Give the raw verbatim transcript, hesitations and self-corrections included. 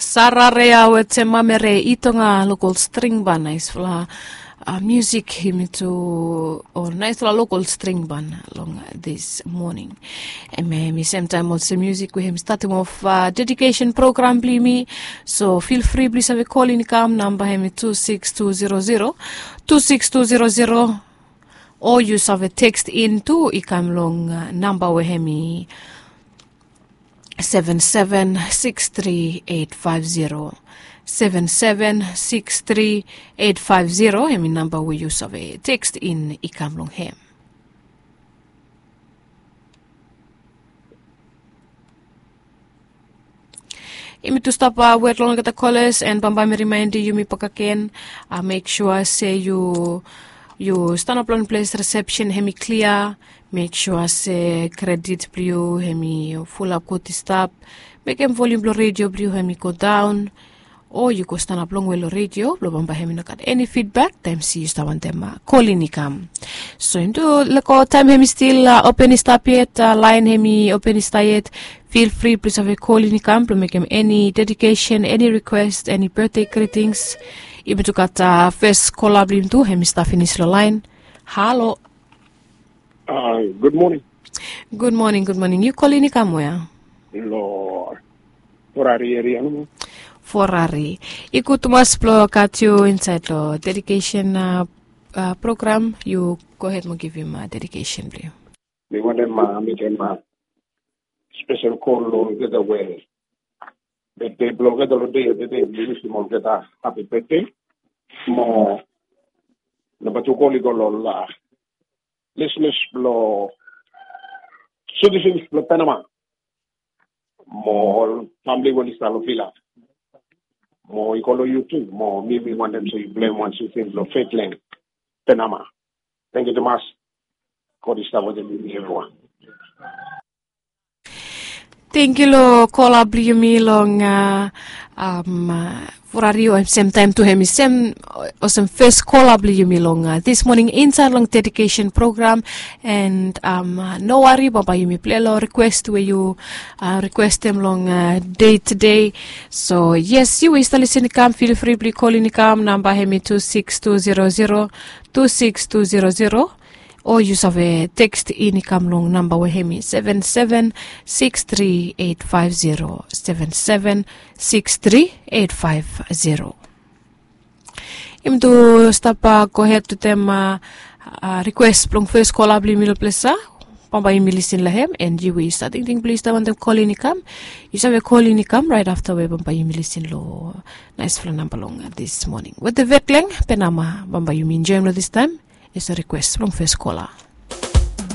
Sararea wetem mamere i tonga lokol string ban naisfala, musik hemi tu, o naisfala lokol string ban long this morning. Em hemi semtaem olsem musik we hemi statem of dedikesen program blong yumi. So fil fri blong yu save kolin i kam, namba hemi tu sikis tu zero zero, tu sikis tu zero zero. O yu save tekst in tu i kam long namba we hemi seven seven six three eight five zero. Seven seven six three eight five zero hemi namba we yu save tekst in i kam long hem. Yumi tu stap wet long olgeta koles, and bambae mi rimaendi yumi bakagen, mek sua se yu yu stanap long ples resepsen hemi klia. Mek sua se kredit blong yu hemi fulap gud i stap. Mekem volium blong redio blong yu hemi godaon, o yu go stanap longwe long redio blong bambae hemi no gat eni fidbak taem se yu stap wantem kolin i kam. So yumi tu lego taem hemi stil open i stap yet, laen hemi open i stap yet. Fil fri blong yu save kolin i kam blong mekem eni dedikesen, eni rikwes, eni betde gritings. Yumi tu gat fes kola blong yumi tu hemi stap finis long laen. Halo. Gud moning. Gud moning, gud moning. Yu kolin i kam wea? Long Forari eria nomo. Forari. I gud tumas blong gat yu insaed long dedikesen program. Yu gohed mo givim dedikesen blong yu. Mi wantem mekem spesel kol long olgeta we betde blong olgeta long dei ya tede, mi wisim olgeta hapi betde. Mo namba tu kol i go long ol lisnis blong sitisens blong Panama mo ol famili we oli stap long vila. Mo i go long yu tu, mo mi mi wantem se yu blem wan sitisens blong Faitland, Panama. Tangkiu tumas. God i stap wetem yumi evriwan. Tangkiu long kola blong yumi long Forari, o semtaem tu hemi sem olsem fes kola blong yumi long this moning insaed long dedikesen program. And no wari, bambae yumi pilai long rikwes we yu rikwestem long dei tede. So yes, yu we yu stap lisin i kam, fil fri blong yu kolin i kam, namba hemi tu sikis tu zero zero, tu sikis tu zero zero. O yu save tekst in i kam long namba we hemi seven seven six three eight five zero, seven seven six three eight five zero. Yumi tu stap gohed wetem rikwes blong fes kola blong yumi long ples ya. Bambae yumi lisin long hem, and yu we yu stap tingting blong yu stap wantem kolin i kam, yu save kolin i kam raet afta we bambae yumi lisin long naesfala namba long this moning. Wetem Vetleng, Panama, bambae yumi enjoem long this taem. Is a rikwes blong fes kola.